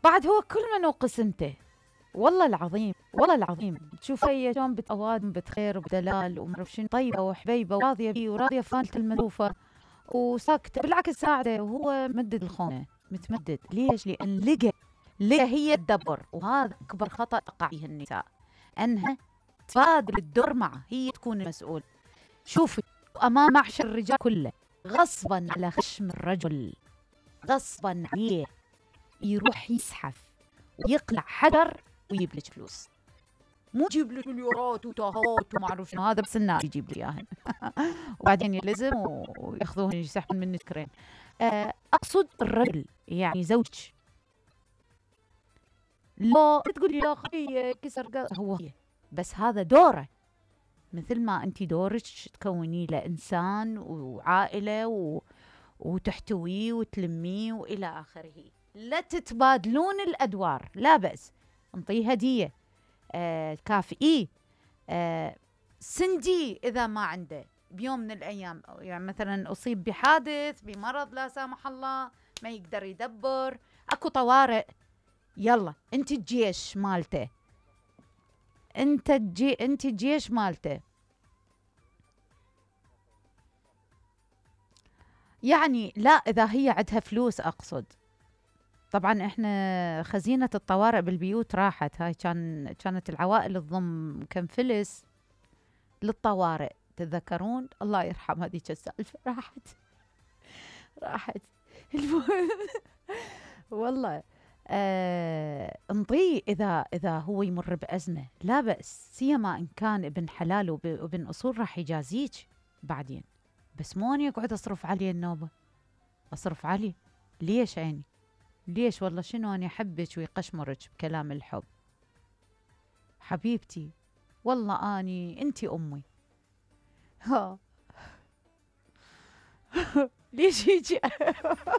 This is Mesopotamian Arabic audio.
بعد هو كل منو قسمته. والله العظيم والله العظيم تشوف هي شلون بتوادم بخير وبدلال وما اعرف شنو، طيبه وحبيبه وراضيه بيه وراضيه فانله الملوفه وساكته، بالعكس ساعده وهو مدد الخونه متمدد. ليش؟ لان لقى هي تدبر، وهذا اكبر خطا تقع فيه النساء، انها تفاضل الدور معه، هي تكون المسؤول. شوفي امام معشر الرجال كله غصبا على خشم الرجل، غصبا عليه يروح يزحف ويقلع حجر ويجيب لك فلوس، مو يجيب لك مليارات وتاهات وما اعرف شنو، هذا بس النار يجيب لي اياهن وبعدين يلزم وياخذوهن يسحبون منك كرين. اقصد الرجل يعني زوجك، لا تقول لي يا اخي كسر هو بس هذا دوره، مثل ما انت دورك تكوني له انسان وعائله وتحتويه وتلميه والى اخره. لا تتبادلون الادوار، لا بأس، انطيه هديه، كافئيه، سندي اذا ما عنده بيوم من الايام، يعني مثلا اصيب بحادث بمرض لا سامح الله ما يقدر يدبر، اكو طوارئ، يلا انت الجيش مالته، انت الجيش مالته. يعني لا اذا هي عندها فلوس اقصد. طبعا احنا خزينة الطوارئ بالبيوت راحت، هاي كانت العوائل تضم كم فلس للطوارئ، تتذكرون؟ الله يرحم هذيك السالفة، راحت والله. انطيه اذا هو يمر بأزمة لا بأس، سيما ان كان ابن حلال وابن اصول راح يجازيك بعدين، بس مو اني اقعد اصرف عليه النوبة، اصرف عليه ليش عيني؟ ليش والله شنو أنا أحبك ويقشمرك بكلام الحب حبيبتي، والله أنتي أمي. ها ليش هيجي